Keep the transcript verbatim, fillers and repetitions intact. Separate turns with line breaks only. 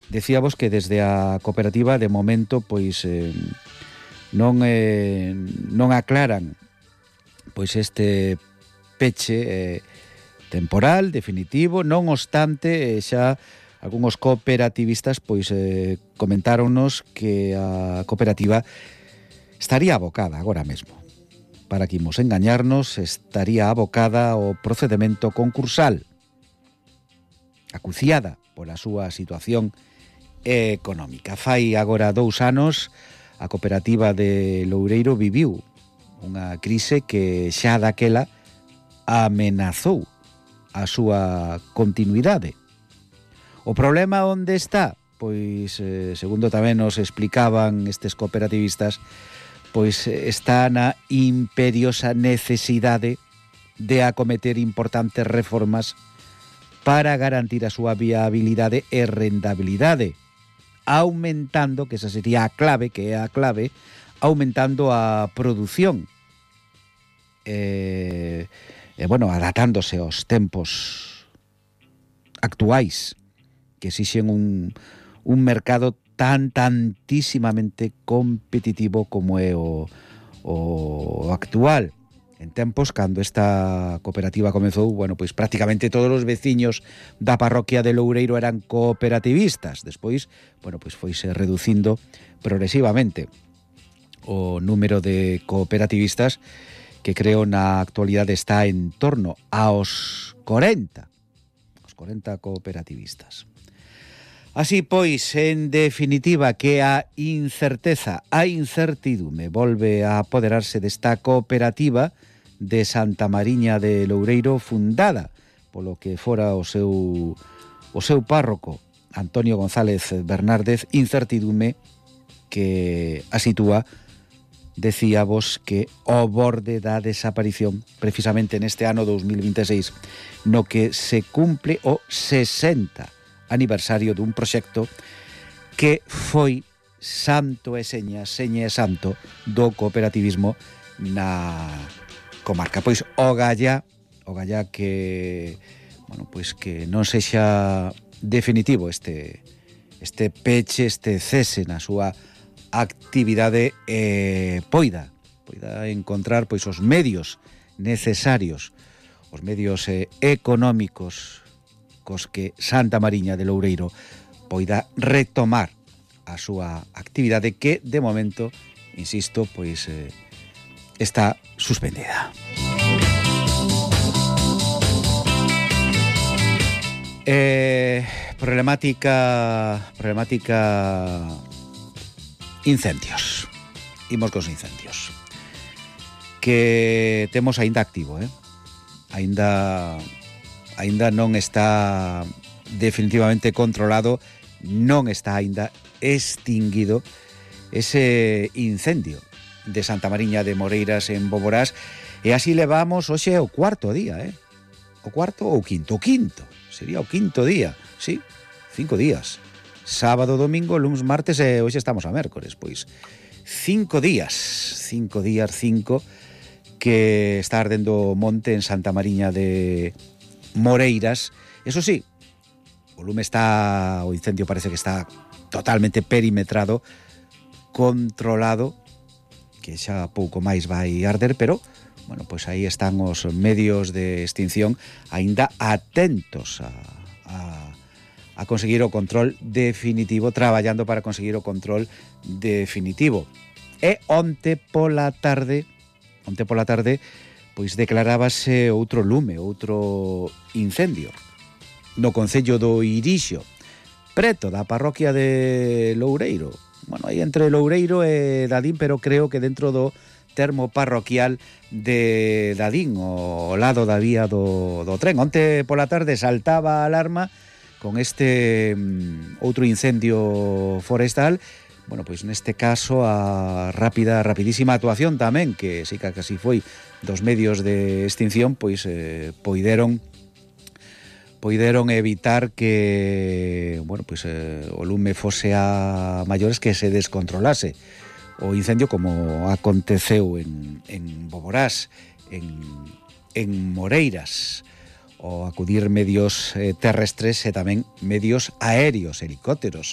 decíamos que desde a cooperativa de momento pois eh, non eh, non aclaran pois este peche eh, temporal, definitivo, non obstante eh, xa algúns cooperativistas pois eh, comentáronnos que a cooperativa estaría abocada agora mesmo, para que imos engañarnos, estaría abocada ao procedemento concursal, acuciada pola súa situación económica. Fai agora dous anos a cooperativa de Loureiro viviu unha crise que xa daquela amenazou a súa continuidade. O problema onde está? Pois, eh, segundo tamén nos explicaban estes cooperativistas, pois está na imperiosa necesidade de acometer importantes reformas para garantir a súa viabilidade e rentabilidade, aumentando, que esa sería a clave, que é a clave, aumentando a produción e, e bueno, adaptándose aos tempos actuais que exixen un, un mercado tan tantísimamente competitivo como é o, o actual. En tempos, cando esta cooperativa comezou, bueno, pois prácticamente todos os veciños da parroquia de Loureiro eran cooperativistas. Despois, bueno, pois foise reducindo progresivamente o número de cooperativistas, que creo na actualidade está en torno aos corenta, os corenta cooperativistas. Así pois, en definitiva, que a incerteza, a incertidume volve a apoderarse desta cooperativa de Santa Mariña de Loureiro, fundada polo que fora o seu o seu párroco Antonio González Bernárdez, incertidume que a sitúa, decíamos, que ao borde da desaparición precisamente neste ano dos mil vinte e seis, no que se cumple o sesenta aniversario dun proxecto que foi santo e seña, seña e santo do cooperativismo na comarca. Pois o gallá, o gallá que, bueno, pois que non sexa definitivo este este peche, este cese na súa actividade, eh, poida poida encontrar pois os medios necesarios, os medios eh, económicos cos que Santa Mariña de Loureiro poida retomar a súa actividade que, de momento, insisto, pois eh, está suspendida. Eh, problemática problemática incendios. Imos cos incendios que temos aínda activo, eh? Aínda aínda non está definitivamente controlado, non está aínda extinguido ese incendio de Santa Mariña de Moreiras en Boborás, e así levamos hoxe o cuarto día, eh? O cuarto ou quinto? O quinto, sería o quinto día, sí, cinco días. Sábado, domingo, luns, martes e hoxe estamos a mércores, pois cinco días, cinco días, cinco, que está ardendo o monte en Santa Mariña de Moreiras. Eso sí, o lume está, o incendio parece que está totalmente perimetrado, controlado, que xa pouco máis vai arder, pero, bueno, pois aí están os medios de extinción aínda atentos a, a, a conseguir o control definitivo, traballando para conseguir o control definitivo. E onte pola tarde, onte pola tarde, pois declarábase outro lume, outro incendio no concello do Irixo, preto da parroquia de Loureiro. Bueno, aí entre Loureiro e Dadín, pero creo que dentro do termo parroquial de Dadín, ao lado da vía do, do tren. Onte pola tarde saltaba a alarma con este um, outro incendio forestal. Bueno, pois neste caso a rápida, rapidísima actuación tamén, que sí que casi foi dos medios de extinción, pois eh, poideron poideron evitar que, bueno, pois eh, o lume fose a maiores, que se descontrolase o incendio, como aconteceu en, en Boborás, en, en Moreiras, o acudir medios eh, terrestres e tamén medios aéreos, helicópteros,